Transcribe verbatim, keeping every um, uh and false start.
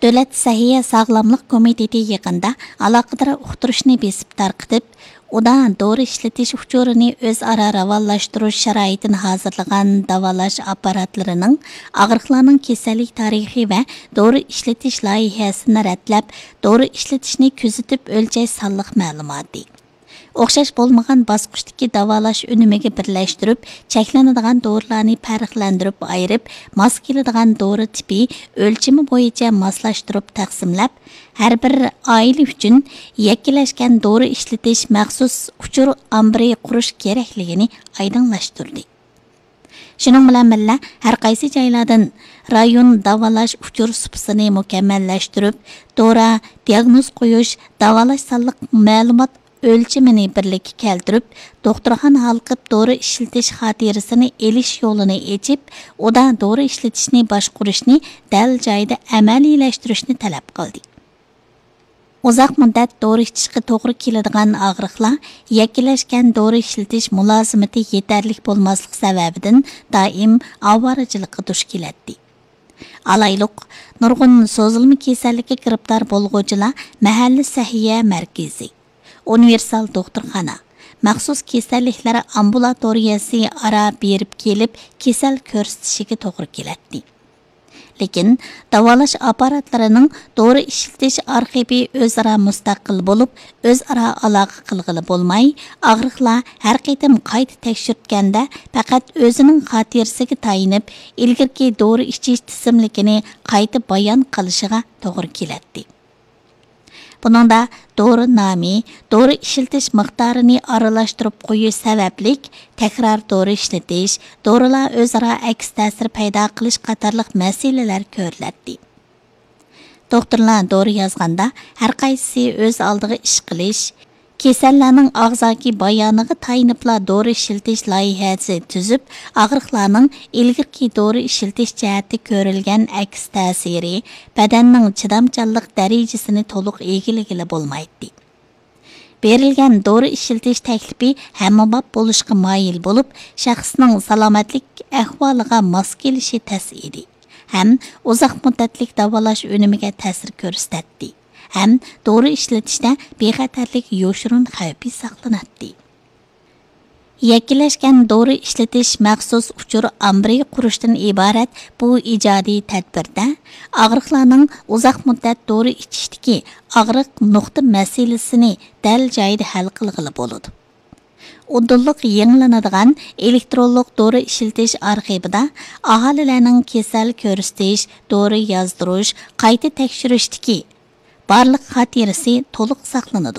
دۆلەت سەھىيە ساغلاملىق كومىتېتى يېقىندا ئالاقىدار ئۇقتۇرۇشنى بېسىپ تارقىتىپ، ئۇدا دورا ئىشلىتىش ئۇچۇرىنى ئۆزئارا راۋانلاشتۇرۇش شارائىتىنى ھازىرلىغان داۋالاش ئاپپاراتلىرىنىڭ ئاغرىقلارنىڭ كېسەللىك تارىخى ۋە دورا ئىشلىتىش لايىھەسىنى رەتلەپ، دورا ئىشلىتىشنى كۆزىتىپ ئۆلچەش سانلىق مەلۇماتى. ئوخشاش بولمىغان باسقۇچتىكى داۋالاش ئۈنۈمىگە بىرلەشتۈرۈپ، چەكلىنىدىغان دورىلارنى پەرقلەندۈرۈپ ئايرىپ، ماس كېلىدىغان دورا تىپى ئۆلچىمى بويىچە ماسلاشتۇرۇپ تەقسىملەپ، ھەر بىر ئائىلە ئۈچۈن يەككىلەشكەن دورا ئىشلىتىش مەخسۇس ئۇچۇر ئامبىرى قۇرۇش كېرەكلىكىنى ئايدىڭلاشتۇردى. شۇنىڭ بىلەن بىللە، ھەر قايسى جايلاردىن رايون داۋالاش ئۇچۇر سۇپىسىنى مۇكەممەللەشتۈرۈپ، دورا، دىياگنوز قويۇش، داۋالاش سانلىق مەلۇمات ئۆلچىمىنى بىرلىككە كەلتۈرۈپ، دوختۇرخانا ھالقىپ دورا ئىشلىتىش خاتىرىسىنى ئېلىش يولىنى ئېچىپ، ئۇدا دورا ئىشلىتىشنى باشقۇرۇشنى دەل جايىدا ئەمەلىيلەشتۈرۈشنى تەلەپ قىلدى. ئۇزاق مۇددەت دورا ئىچىشكە توغرا كېلىدىغان ئاغرىقلار يەككىلەشكەن دورا ئىشلىتىش مۇلازىمىتى يېتەرلىك بولماسلىق سەۋەبىدىن دائىم ئاۋارىچىلىققا دۇچ كېلەتتى. ئالايلۇق، نۇرغۇن سوزۇلما كېسەللىككە گىرىپتار بولغۇچىلار مەھەللە سەھىيە مەركىزى، ئۇنىۋېرسال دوختۇرخانا، مەخسۇس كېسەللىكلەر ئامبۇلاتورىيەسى ئارا بېرىپ كېلىپ كېسەل كۆرسىتىشىگە توغرا كېلەتتى. لېكىن داۋالاش ئاپپاراتلىرىنىڭ دورا ئىشلىتىش ئارخىپى ئۆزئارا مۇستەقىل بولۇپ، ئۆزئارا ئالاقە قىلغىلى بولماي، ئاغرىقلار ھەر قېتىم قايتا تەكشۈرتكەندە پەقەت ئۆزىنىڭ خاتىرىسىگە تايىنىپ، ئىلگىرىكى دورا ئىچىش تىزىملىكىنى قايتا بايان قىلىشىغا توغرا كېلەتتى. بۇنىڭدا دورا نامى، دورا ئىشلىتىش مىقدارىنى ئارىلاشتۇرۇپ قويۇش سەۋەبلىك تەكرار دورا ئىشلىتىش، دورىلار ئۆزئارا ئەكس تەسىر پەيدا قىلىش قاتارلىق مەسىلىلەر كۆرۈلەتتى. دوختۇرلار دورا يازغاندا، ھەر قايسىسى ئۆز ئالدىغا ئىش قىلىش، كېسەللەرنىڭ ئاغزاكى بايانىغا تايىنىپلا دورا ئىشلىتىش لايىھەسى تۈزۈپ، ئاغرىقلارنىڭ ئىلگىرىكى دورا ئىشلىتىش جەھەتتە كۆرۈلگەن ئەكس تەسىرى، بەدەننىڭ چىدامچانلىق دەرىجىسىنى تولۇق ئىگىلىگىلى بولمايتتى. بېرىلگەن دورا ئىشلىتىش تەكلىپى ھەممىباب بولۇشقا مايىل بولۇپ، شەخسنىڭ سالامەتلىك ئەھۋالىغا ماس كېلىشى تەس ئىدى ھەم ئۇزاق مۇددەتلىك داۋالاش ئۈنۈمىگە تەسىر كۆرسىتەتتى ھەم دورا ئىشلىتىشتە بىخەتەرلىك يوشۇرۇن خەۋپى ساقلىناتتى. يەككىلەشكەن دورا ئىشلىتىش مەخسۇس ئۇچۇر ئامبىرى قۇرۇشتىن ئىبارەت بۇ ئىجادىي تەدبىردە ئاغرىقلارنىڭ ئۇزاق مۇددەت دورا ئىچىشتىكى ئاغرىق نۇقتا مەسىلىسىنى دەل جايىدا ھەل قىلغىلى بولىدۇ. ئۇدۇللۇق يېڭىلىنىدىغان ئېلېكترونلۇق دورا ئىشلىتىش ئارخىپىدا ئاھالىلەرنىڭ كېسەل كۆرسىتىش، دورا يازدۇرۇش، قايتا تەكشۈرۈشتىكى بارلىق خاتىرىسى تولۇق ساقلىنىدۇ.